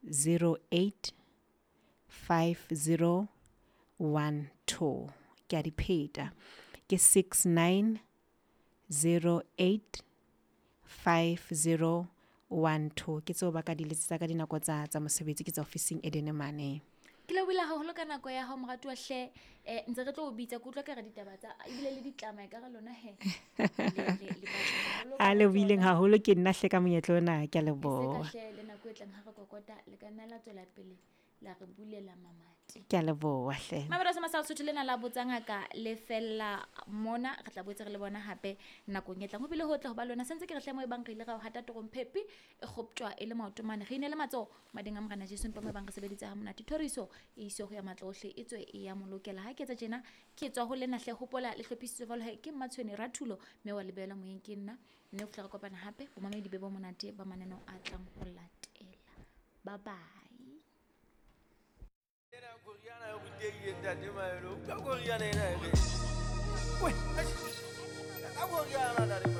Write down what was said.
08 50 12. Ke a di pheta, ke 69 08 50 12. Ke tseo ba ka di letsetsa ka dinako tsa mosebetsi, ke tsa ofising Edene mane. Ke lebohile haholo ka nako ya hao, moratuwa hle. Ntse re tlo o bitsa, ke utlwa ka re ditaba tsa ebile le ditlama e ka re lona he. Le batla haholo A ka lebohileng tsona. Haholo ke nna hle ka monyetla ona, ke a E se ka leboha. Hle le nako e tlang ha re kokota le ka nna la tswela pele la re bulela mamati. Ke a leboha hle. Mamelo sa Masala Sotho lena la botsa ngaka le fella mona, re tla boetse re le bona hape nakong e tlang. Ho bile ho tla ho ba lona sentse ke re hle mo e bang re ile ra o hata torong phepi e kgoptjwa e le maoto mane, re ine le matsoho mading a Morena Jesu, empa mo e bang re sebeditse ha monate. Thoriso e iswe ho ya matla ohle, e tswe e ya molokela. Ha ke etsa tjena ke tswa ho lena hle, hopola le hlophisitswe jwalo he ke Mmatshweni Rathulo, mme wa lebela moyeng ke nna, mme ho fihla re kopana hape. Bomamedi be bo monate ba mananeo a tlang ho latela. Bye bye. Ena koriana e rutehile ntate Maelo. Utlwa koriana ena e re. Weh, eish. Ka koriana ntate.